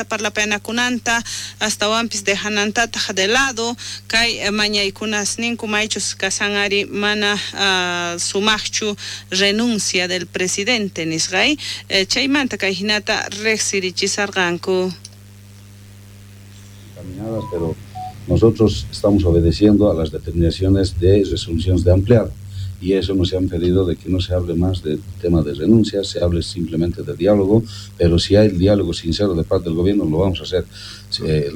Parlapayanakunanta astawanpis dejanantataq de lado kay mañaykunasninku maychus kasan ari mana sumaqchu renuncia del presidente nisqay chaymanta kay hinata riqsirichisarqanku. Caminadas, pero nosotros estamos obedeciendo a las determinaciones de resoluciones de ampliado y eso nos han pedido de que no se hable más del tema de renuncias, se hable simplemente de diálogo, pero si hay diálogo sincero de parte del gobierno lo vamos a hacer.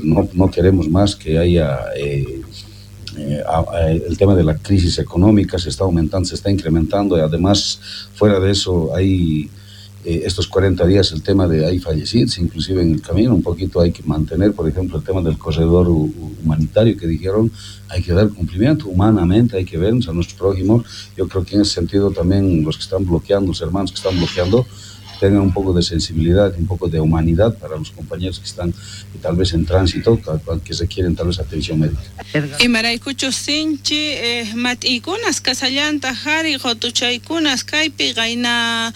No, no queremos más que haya el tema de la crisis económica se está aumentando, se está incrementando y además fuera de eso hay estos 40 días el tema de hay fallecidos, inclusive en el camino, un poquito hay que mantener, por ejemplo, el tema del corredor humanitario que dijeron, hay que dar cumplimiento humanamente, hay que vernos a nuestros prójimos. Yo creo que en ese sentido también los que están bloqueando, los hermanos que están bloqueando, tengan un poco de sensibilidad, un poco de humanidad para los compañeros que están tal vez en tránsito, que requieren tal vez atención médica. Imaraykuchus sinchi mat'iykunas kasallantaq ari qutuchaykunas kaypi qayna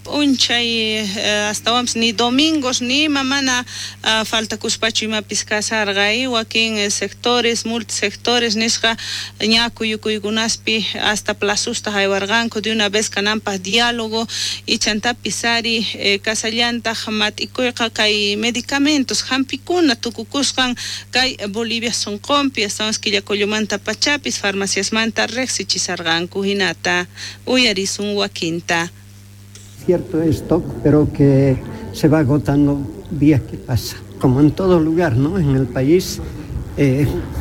p'unchay astawanpis ni domingos ni ima mana faltakuspachu imapis kasarqa wakin sectores, multisectores nisqa ña kuyukuykunaspi hasta plazusta haywarqanku de una vez kananpaq diálogo y chantapis ari kasallantaq mat'ikuyqa kay medicamentos hampikuna tukukusqan kay Bolivia sunqunpi astawanpis Quillacollomanta pachapis farmaciasmanta riqsichisarqanku hinata uyarisun wakinta. Cierto stock, pero que se va agotando día que pasa. Como en todo lugar, ¿no? En el país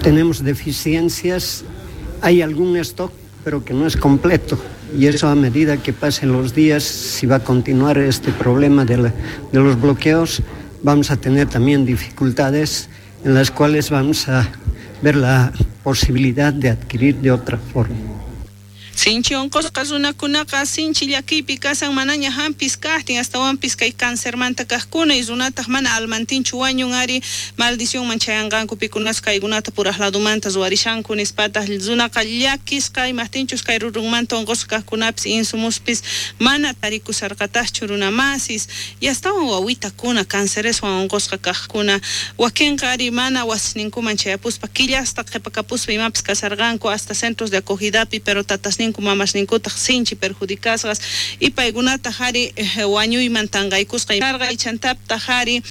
tenemos deficiencias, hay algún stock, pero que no es completo. Y eso a medida que pasen los días, si va a continuar este problema de los bloqueos, vamos a tener también dificultades en las cuales vamos a ver la posibilidad de adquirir de otra forma. Sinchi unqusqa runakunaqa sinchi llakiypi kasan manaña hampis kaqtin astawanpis kay cancermanta kaqkuna y runataq mana almantinchu wañun ari maldicionman chayanqanku pikunas kaykunata puraq ladumanta ruwarishanku nispataq runaqa llakisqa imaqtinchus kay rurunmanta unqusqa kaqkunapis insumuspis mana tarikusarqataqchu runamasis y astawan wawitakuna cancereswan unqusqa kaqkuna wakinqa ari mana wasisninkuman chayapuspa killasta qhipakapuspa imapis kasarqanku hasta centros de acogidapi, pero tatasninku mamasninkutaq sinchi perjudicasqas y paykunataq ari wañuyman tanqaykusqa karqa y chantaptaq ari.